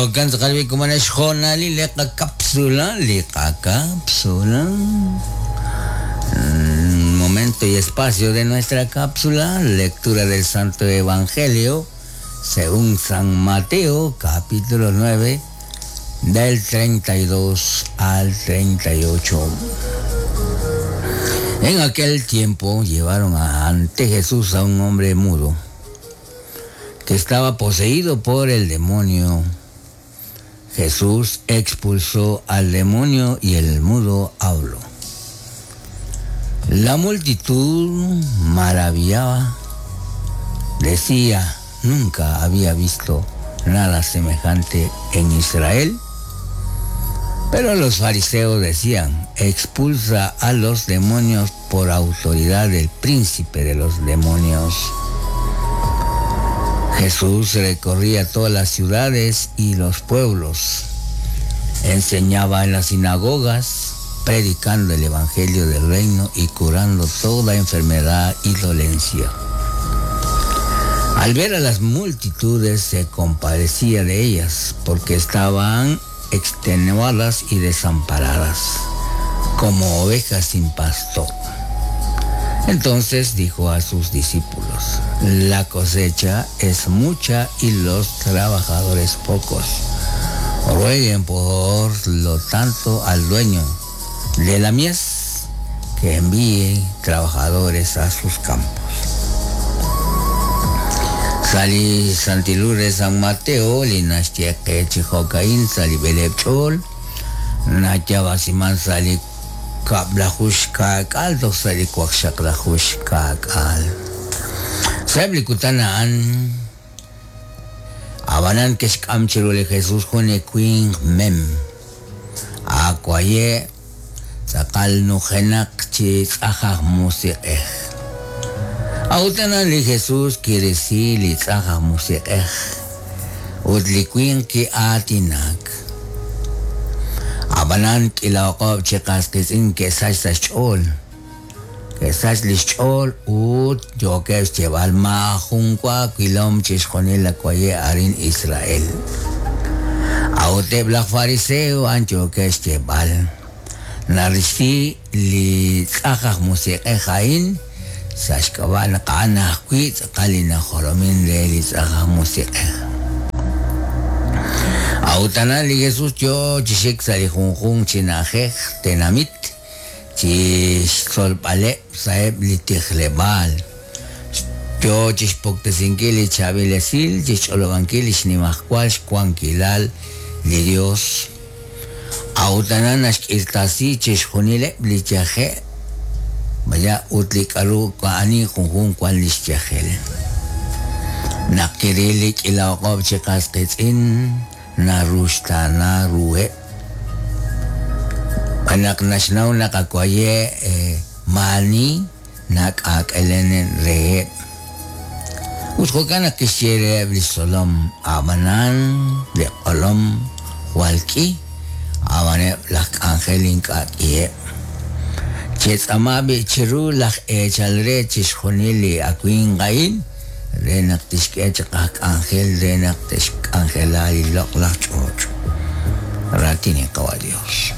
Jo'kan tz'aqal b'i' komon xhoonalil li qakapsula, li qakapsula. Momento y espacio de nuestra cápsula, lectura del Santo Evangelio según San Mateo, capítulo 9, del 32 al 38. En aquel tiempo llevaron ante Jesús a un hombre mudo que estaba poseído por el demonio. Jesús expulsó al demonio y el mudo habló. La multitud maravillaba, decía, nunca había visto nada semejante en Israel. Pero los fariseos decían, expulsa a los demonios por autoridad del príncipe de los demonios. Jesús recorría todas las ciudades y los pueblos, enseñaba en las sinagogas, predicando el evangelio del reino y curando toda enfermedad y dolencia. Al ver a las multitudes se compadecía de ellas, porque estaban extenuadas y desamparadas, como ovejas sin pastor. Entonces dijo a sus discípulos, la cosecha es mucha y los trabajadores pocos. Rueguen por lo tanto al dueño de la mies que envíe trabajadores a sus campos. Sali Santilure San Mateo, Linaxtieke Chijocaín, Sali Belebchol, Nachabasiman Sali Kablajuxkak'al, toj Sali Kuaxaklajuxkak'al. Sa'eb li kutan a'an, ab'anan ke'xk'am chiru li Jesus jun li winq mem, aawaye' tz'aqal nujenaq chi tz'aj aj musiq'ej. A'ut aran li Jesus kirisi li tz'aj aj musiq'ej, ut li winq ki'aatinak. Ab'anan k'iila o'q'ob' chi qas qiitz'in ke'sach sa' xch'ool, ke'sach li xch'ool ut yookeb' xyeeb'al, Maajun wa wilom chixjunil li waye' arin Israel. A'ut eb' laj fariseo a'an yookeb' xyeeb'al, Narisi li tz'aj aj musiq'ej a'in sa' xk'ab'a' naq a'an ajwi' tz'aqal li najolomin re li tz'aj aj musiq'ej. A'ut aran li Jesus yoo chi xik sa' li junjunq chi na'ajej tenamit chi xtzolb'aleb' sa'eb' li tijleb'aal, yoo chixpuktesinkil li chaab'il esil, chixch'olob'ankil lix nimajwal xwankilal li Dios. A'ut aran naxk'irtasi chixjunileb' li yaje' maya ut li k'a'ru ani junjunq wan lix yajel. Naq kiril li k'iila o'q'ob' chi qas qiitz'in, naruxtaana ruheb'. Xb'aan naq naxnaw naq akwaye' maa'ani nak'aak'elen reheb'. Ut jo'kan naq kixye reheb' li xtzolom, Ab'anan li q'olom jwal k'i, ab'an eb' laj k'anjel ink'a' k'iheb'. Chetz'aama b'i' chiru laj eechal re chixjunil li awimq a'in re naq tixk'e chaq aj k'anjel re naq te'xk'anjela li loq'laj ch'och'. Raatin li Qawa' Dios.